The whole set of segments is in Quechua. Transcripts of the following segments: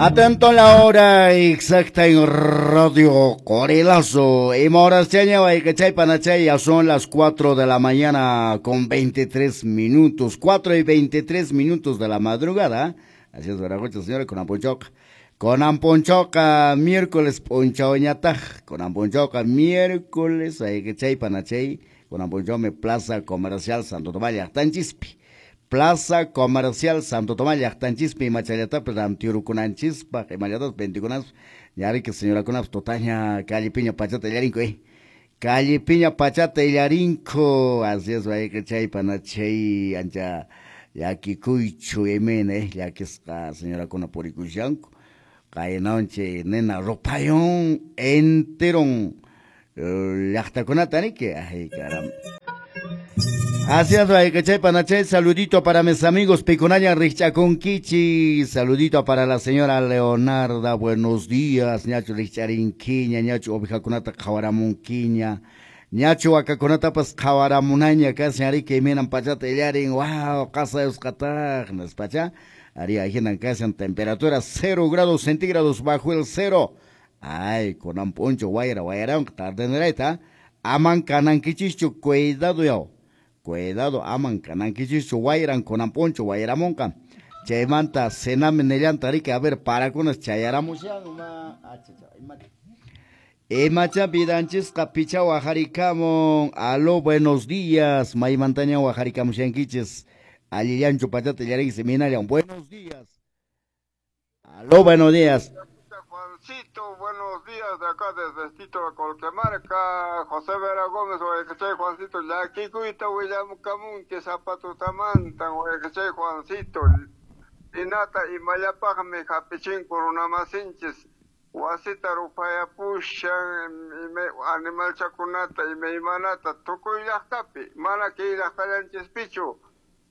Atento a la hora exacta en Radio Corelazo. Y moras chay panachay, ya son las 4 de la mañana con 23 minutos. 4:23 de la madrugada. Así es, Veragocha, señora, con Amponchoca. Con Amponchoca, miércoles, ponchaoñataj. Con Amponchoca, miércoles, ay que chay panachay. Con Amponchome, Plaza Comercial Santo Tomás, Llaqtanchispi. Plaza Comercial Santo Tomás llaqtanchispi imachallatapas rantirukunanchispaq imallatapas vendikunaspaq ñariki señorakunapas tutaña callepiña pachata illarinku callepiña pachata illarinku. Así es, chay panachay, ancha llakikuychu imena llakisqa señorakuna purikushanku qaynanchi nina rupayun enteron llaqtakunata riki. Ay, caramba. Así es, chay panachay, saludito para mis amigos Picunaña Richacunquichi, saludito para la señora Leonarda, buenos días, ñachu richarinquiña, ñachu ovejakunata qhawaramunquiña, ñachu wakakunatapas qhawaramunaña kasi ariki imaynan pachata illarin, wow, qasayusqataq, nispacha, ari ahinan kashan temperatura 0 grados centígrados bajo el cero, ay, kunan p'unchaw wayra wayrawanqa tardenirayta, aman kanankichischu, cuidado yaw. Cuidado, aman kanankichischu wayran kunan p'unchaw wayramunqa. Chaymanta cenami nillanta riki, a ver, parakunas chayaramushan ma imacha vidanchisqa picha wajarikamun. Aló, buenos días, maymantaña wajarikamushankichis, allillanchu pachata illarinki minallan. Buenos días. Aló, buenos días. Juancito, buenos días de acá desde Tito Colquemarca, José Vera Gómez, Guayacachay Juancito, llakikuyta willamukamunki zapatutamantan, Guayacachay Juancito, ninata imallapaqmi hapichinku runamasinchis, wasita rupayapushan, animalchakunata, imaymanata, tukuy llaqtapi, mana kay llaqtallanchispichu,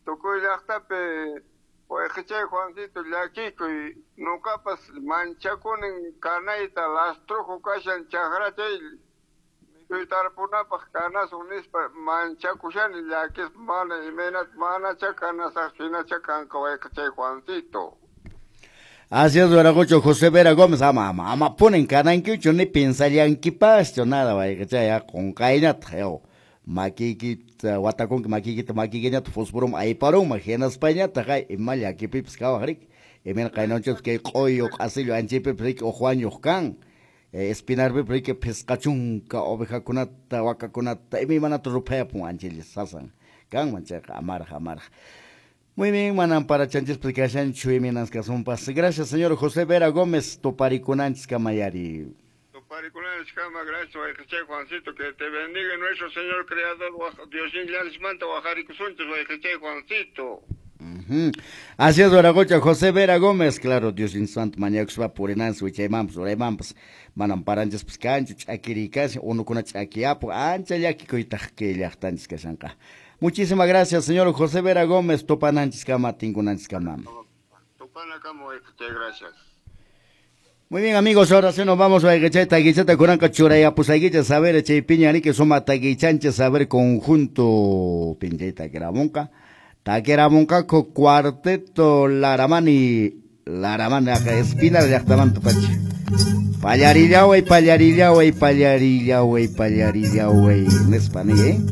tukuy llaqtapi. Guayacachay Juancito, llakikuy, nuqapas manchakunin kanayta lastrojo kashan chakrachay mikuy tarpunapaq kanasun nispa manchakushani llakispa mana imaynata manacha kanasaq hinacha kanqa Guayacachay Juancito. Así es, Veragocho, José Vera Gómez, ama, ama, ama ponen kanankichu ni pensallankipaschu nada, Guayacachay, qunqaynata, yaw. Makiykita watakunki makiykita makiykiñata fosforum ayparunman hinaspañataq ay ima llakipipas kawaq riki imayna qaynanchikpas kay q'uyu q'asillu anchaypipas riki uq wañuq kan Espinarpipas riki phisqa chunka ovejakunata wakakunata imaymanata ruphayapun anchaylla sasan kanman chayqa amaraq amaraq. Muy bien, manan parachanchispas kashanchu imaynas kasunpas. Gracias, señor José Vera Gómez, tuparikunanchis kamayari. Parikunanchis gracias, Guayacachay Juancito, que te bendiga nuestro Señor Creador, Dios manta wajarikusunchis, Guayacachay Juancito. Así es, Veragocha, José Vera Gómez, claro, Dios santo, mañakuspa purinanchis, wichaymanpas, uraymanpas, manam paranchispas kanchu, ch'akirikashan, unukuna ch'akiyapu, ancha llakikuytaq kay llaqtanchis kashanqa. Muchísimas gracias, señor José Vera Gómez, tupananchis kama, tinkunanchis kama. Tupanakama, Guayacachay, gracias. Muy bien, amigos, ahora sí nos vamos a taguichata kuranqa churayapusaykichis, saber chaypiña riki suma taguichanchis, saber conjunto pinchay taquiramunqa. Taquiramunqaku cuarteto Laramani, Laramani acá Espinar llaqtamanta pacha. Pallarillaway, pallarillaway, pallarillaway, pallarillaway, nispa ni,